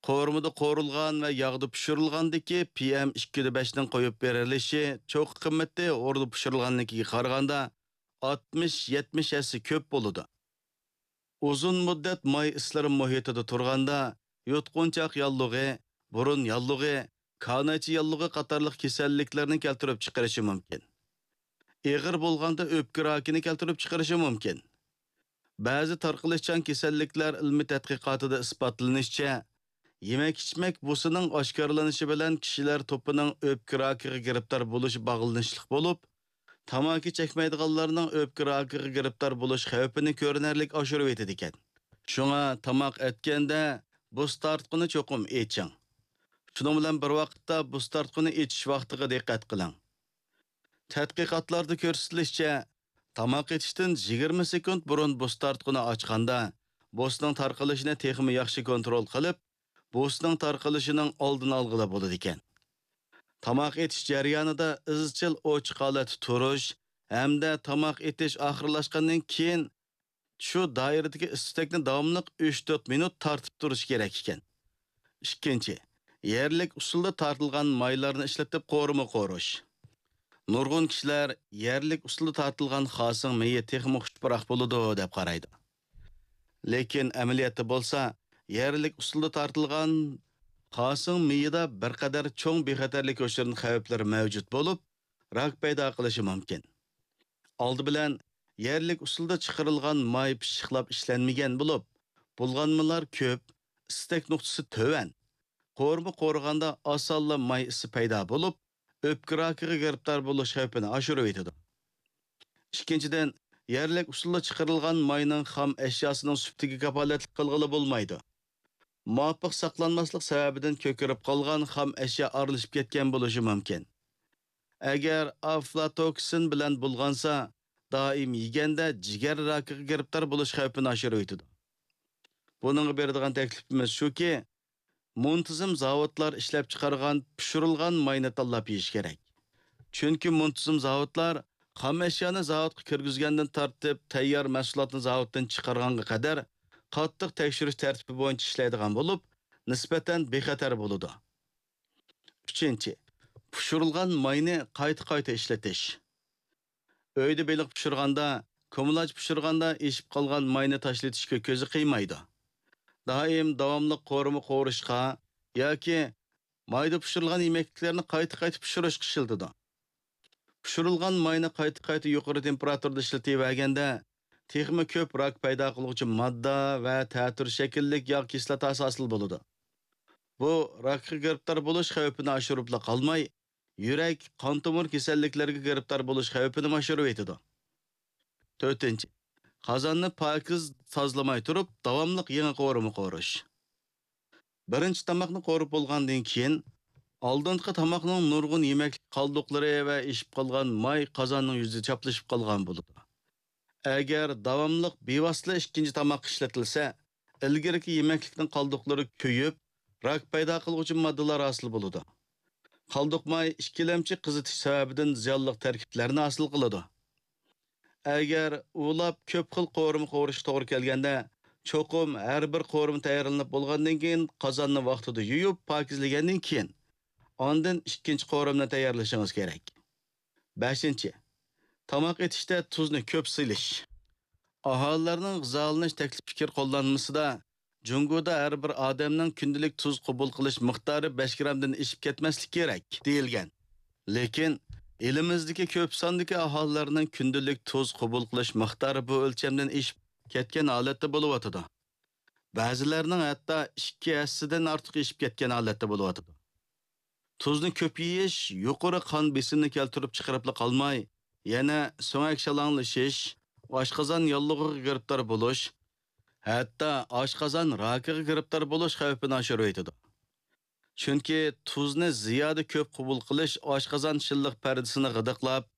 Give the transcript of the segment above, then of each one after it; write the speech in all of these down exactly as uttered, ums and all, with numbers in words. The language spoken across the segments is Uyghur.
قورۇمىدا قورۇلغان ۋە ياغدا پىشۇرۇلغاندىكى پىئېم ئىككى يۈز بەشنىڭ قويۇپ بېرىلىشى چوققا قىممىتى ھوردا پىشۇرۇلغاننىڭكىگە قارىغاندا ئاتمىش، يەتمىش ھەسسە كۆپ بولىدۇ. ئۇزۇن مۇددەت ماي ئىسلىرىم مۇھىتىدا تۇرغاندا، يۇتقۇنچاق ياللۇغى، بۇرۇن ياللۇغى، كانايچە ياللۇغى قاتارلىق كېسەللىكلەرنى كەلتۈرۈپ چىقىرىشى مۇمكىن. ئېغىر بولغاندا ئۆپكە راكىنى كەلتۈرۈپ چىقىرىشى مۇمكىن. بەزى تارقىلىشچان كېسەللىكلەر ئىلمىي تەتقىقاتىدا ئىسپاتلىنىشىچە، يېمەك-ئىچمەك بۇسىنىڭ ئاشكارىلىنىشى بىلەن كىشىلەر توپىنىڭ ئۆپكە راكىغا گىرىپتار بولۇشى باغلىنىشلىق بولۇپ، تاماكا چەكمەيدىغانلارنىڭ ئۆپكە راكىغا گىرىپتار بولۇش خەۋپىنى كۆرۈنەرلىك ئاشۇرۇۋېتىدىكەن. شۇڭا تاماق ئەتكەندە بۇس تارتقۇنى چوقۇم ئېچىڭ. شۇنىڭ بىلەن بىر ۋاقىتتا بۇس تارتقۇنى ئېچىش ۋاقتىغا دىققەت قىلىڭ. تەتقىقاتلاردا كۆرسىتىلىشىچە، تاماق ئېتىشتىن يىگىرمە سېكۇنت بۇرۇن بۇس تارتقۇنى ئاچقاندا، بۇسنىڭ تارقىلىشىنى تېخىمۇ ياخشى كونترول قىلىپ، بۇسنىڭ تارقىلىشىنىڭ ئالدىنى ئالغىلى بولىدىكەن. تاماق ئېتىش جەريانىدا ئىزچىل ئوچۇق ھالەتتە تۇرۇش ھەمدە تاماق ئېتىش ئاخىرلاشقاندىن كېيىن شۇ دائىرىدىكى ئىس-تۈتەكنى داۋاملىق ئۈچ تۆت مىنۇت تارتىپ تۇرۇش كېرەك ئىكەن. ئىككىنچى، يەرلىك ئۇسۇلدا تارتىلغان مايلارنى ئىشلىتىپ قورۇما قورۇش. نۇرغۇن كىشىلەر يەرلىك ئۇسۇلدا تارتىلغان خاسىڭ مېيى تېخىمۇ خۇش پۇراق بولىدۇ دەپ قارايدۇ. لېكىن ئەمەلىيەتتە بولسا، يەرلىك ئۇسۇلدا تارتىلغان خاسىڭ مېيىدا بىر قەدەر چوڭ بىخەتەرلىك ھوشۇرۇن خەۋپلىرى مەۋجۇت بولۇپ، راك پەيدا قىلىشى مۇمكىن. ئالدى بىلەن يەرلىك ئۇسۇلدا چىقىرىلغان ماي پىششىقلاپ ئىشلەنمىگەن بولۇپ، بۇلغانمىلار كۆپ، ئىستەك نۇقتىسى تۆۋەن. قورۇما قورۇغاندا ئاسانلا ماي ئىسى پەيدا بولۇپ، ئۆپكە راكىغا گىرىپتار بولۇش خەۋپىنى ئاشۇرۇۋېتىدۇ. ئىككىنچىدىن، يەرلىك ئۇسۇلدا چىقىرىلغان ماينىڭ خام ئەشياسىنىڭ سۈپىتىگە كاپالەتلىك قىلغىلى بولمايدۇ. مۇۋاپىق ساقلانماسلىق سەۋەبىدىن كۆكىرىپ قالغان خام ئەشيا ئارىلىشىپ كەتكەن بولۇشى مۇمكىن. ئەگەر ئافلاتوكسىن بىلەن بۇلغانسا، دائىم يېگەندە جىگەر راكىغا گىرىپتار بولۇش خەۋپىنى ئاشۇرۇۋېتىدۇ. بۇنىڭغا بېرىدىغان تەكلىپىمىز شۇكى، مۇنتىزىم زاۋۇتلار ئىشلەپچىقارغان پىشۇرۇلغان ماينى تاللاپ يېيىش كېرەك. چۈنكى مۇنتىزىم زاۋۇتلار خام ئەشيانى زاۋۇتقا كىرگۈزگەندىن تارتىپ، تەييار مەھسۇلاتنى زاۋۇتتىن چىقارغانغا قەدەر قاتتىق تەكشۈرۈش تەرتىپى بويىچە ئىشلەيدىغان بولۇپ، نىسبەتەن بىخەتەر بولىدۇ. ئۈچىنچى، پىشۇرۇلغان ماينى قايتا-قايتا ئىشلىتىش. ئۆيدە بېلىق پىشۇرغاندا، كۇمىلاچ پىشۇرغاندا ئېشىپ قالغان ماينى تاشلىتىشقا كۆزى قىيمايدۇ. دائىم داۋاملىق قورۇما قورۇشقا ياكى مايدا پىشۇرۇلغان يېمەكلىكلەرنى قايتا-قايتا پىشۇرۇشقا ئىشلىتىدۇ. پىشۇرۇلغان ماينى قايتا-قايتا يۇقىرى تېمپېراتۇرىدا ئىشلىتىۋەرگەندە، تېخىمۇ كۆپ راك پەيدا قىلغۇچى ماددا ۋە تەتۈر شەكىللىك ياغ كىسلاتاسى ھاسىل بولىدۇ. بۇ راكقا گىرىپتار بولۇش خەۋپىنى ئاشۇرۇپلا قالماي، يۈرەك، قان تومۇر كېسەللىكلىرىگە گىرىپتار بولۇش خەۋپىنىمۇ ئاشۇرۇۋېتىدۇ. تۆتىنچى، قازاننى پاكىز تازىلىماي تۇرۇپ، داۋاملىق يېڭى قورۇما قورۇش. بىرىنچى تاماقنى قورۇپ بولغاندىن كېيىن، ئالدىنقى تاماقنىڭ نۇرغۇن يېمەكلىك قالدۇقلىرى ۋە ئېشىپ قالغان ماي قازاننىڭ يۈزىدە چاپلىشىپ قالغان بولىدۇ. ئەگەر داۋاملىق بىۋاسىتە ئىككىنچى تاماققا ئىشلىتىلسە، ئىلگىرىكى يېمەكلىكنىڭ قالدۇقلىرى كۆيۈپ، راك پەيدا قىلغۇچى ماددىلار ھاسىل بولىدۇ. قالدۇق ماي ئىككىلەمچى قىزىتىش سەۋەبىدىن زىيانلىق تەركىبلەرنى ھاسىل قىلىدۇ. ئەگەر ئۇۋىلاپ كۆپ خىل قورۇما قورۇشقا توغرا كەلگەندە، چوقۇم ھەر بىر قورۇما تەييارلىنىپ بولغاندىن كېيىن، قازاننى ۋاقتىدا يۇيۇپ، پاكىزلىگەندىن كېيىن، ئاندىن ئىككىنچى قورۇمىنى تەييارلىشىڭىز كېرەك. بەشىنچى، تاماق ئېتىشتە تۇزنى كۆپ سېلىش. ئاھالىلەرنىڭ غىزالىنىش تەكلىپ پىكىر قوللانمىسىدا، جۇڭگودا ھەر بىر ئادەمنىڭ كۈندىلىك تۇز قوبۇل قىلىش مىقدارى بەش گرامدىن ئېشىپ كەتمەسلىكى كېرەك، دېيىلگەن. لېكىن ئېلىمىزدىكى كۆپ ساندىكى ئاھالىلەرنىڭ كۈندىلىك تۇز قوبۇل قىلىش مىقدارى بۇ ئۆلچەمدىن ئېشىپ كەتكەن ھالەتتە بولۇۋاتىدۇ. بەزىلەرنىڭ ھەتتا ئىككى ھەسسىدىن ئارتۇق ئېشىپ كەتكەن ھالەتتە بولۇۋاتىدۇ. تۇزنى كۆپ يېيىش يۇقىرى قان بېسىمىنى كەلتۈرۈپ چىقىرىپلا قالماي، يەنە سۆڭەك شالاڭلىشىش، ئاشقازان ياللۇغىغا گىرىپتار بولۇش، ھەتتا ئاشقازان راكىغا گىرىپتار بولۇش خەۋپىنى ئاشۇرۇۋېتىدۇ. چۈنكى تۇزنى زىيادە كۆپ قوبۇل قىلىش ئاشقازان شىللىق پەردىسىنى غىدىقلاپ،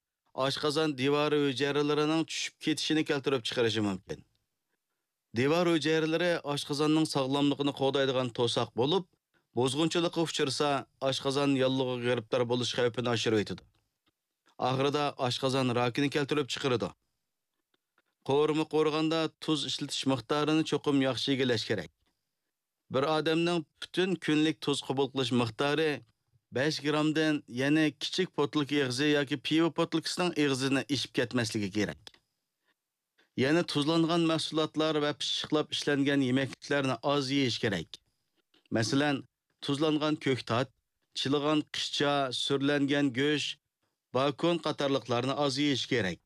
ئاشقازان دىۋارى ھۈجەيرىلىرىنىڭ چۈشۈپ كېتىشىنى كەلتۈرۈپ چىقىرىشى مۇمكىن. دىۋار ھۈجەيرىلىرى ئاشقازاننىڭ ساغلاملىقىنى قوغدايدىغان توساق بولۇپ، بۇزغۇنچىلىققا ئۇچرىسا، ئاشقازان ياللۇغىغا گىرىپتار بولۇش خەۋپىنى ئاشۇرۇۋېتىدۇ. ئاخىرىدا ئاشقازان راكىنى كەلتۈرۈپ چىقىرىدۇ. قورۇما قورۇغاندا تۇز ئىشلىتىش مىقدارىنى چوقۇم ياخشى ئىگىلەش كېرەك. بىر ئادەمنىڭ پۈتۈن كۈنلۈك تۇز قوبۇل قىلىش مىقدارى بەش گرامدىن، يەنى كىچىك پوتۇلكا ئېغىزى ياكى پىۋا پوتۇلكىسىنىڭ ئېغىزىنى ئېشىپ كەتمەسلىكى كېرەك. يەنە تۇزلانغان مەھسۇلاتلار ۋە پىششىقلاپ ئىشلەنگەن يېمەكلىكلەرنى ئاز يېيىش كېرەك. مەسىلەن، تۇزلانغان كۆكتات، چىلىغان قىچا، سۈرلەنگەن گۆش، باكون قاتارلىقلارنى ئاز يېيىش كېرەك.